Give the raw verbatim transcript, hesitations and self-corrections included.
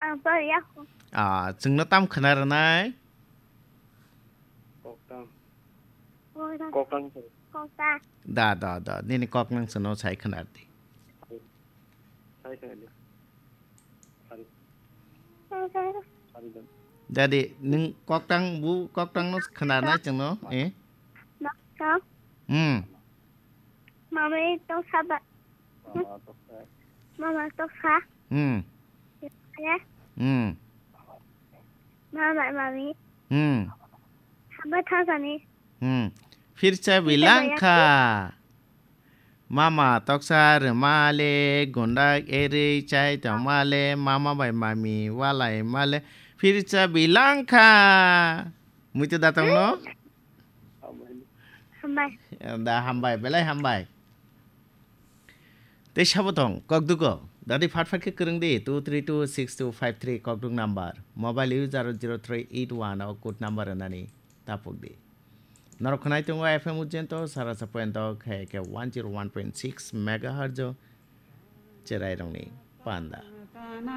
Ang pariya ko. Ah, chwngno tam khna rwnai? Koktang. Koktang. Koktang. Koktang. Da, da, da. Nini kok nang chwngno sai khna rwdi. Sai khna di. Sari. Sari. Sari dan. Dadi, nung koktang bu, koktang no khna rwnai chwngno, eh? Koktang. Hmm. Mama itu sabar. Mama toksa. Mama toksa. Hmm. Ya. Hmm. Mama, mami. Hmm. Hamba thasani. Hmm. Phirsa Phirsa bilangkha. Mama toksa rwmale, gundak erwi chai tongmale, mama bai mami walai male, phirsa bilangkha. Muitu datang no? Hambai. Da hambai, belai hambai. Tei sabo tong, kokdugo. Dadi phat phat khe kwrwng di, two three two six two five three kokduk number. Mobile user zero three eight one o code number rwnani tapuk di. Norok khwnai tongo F M Ujjento, sara sa point o khe khe one zero one point six megahertz o cherai rokni panda.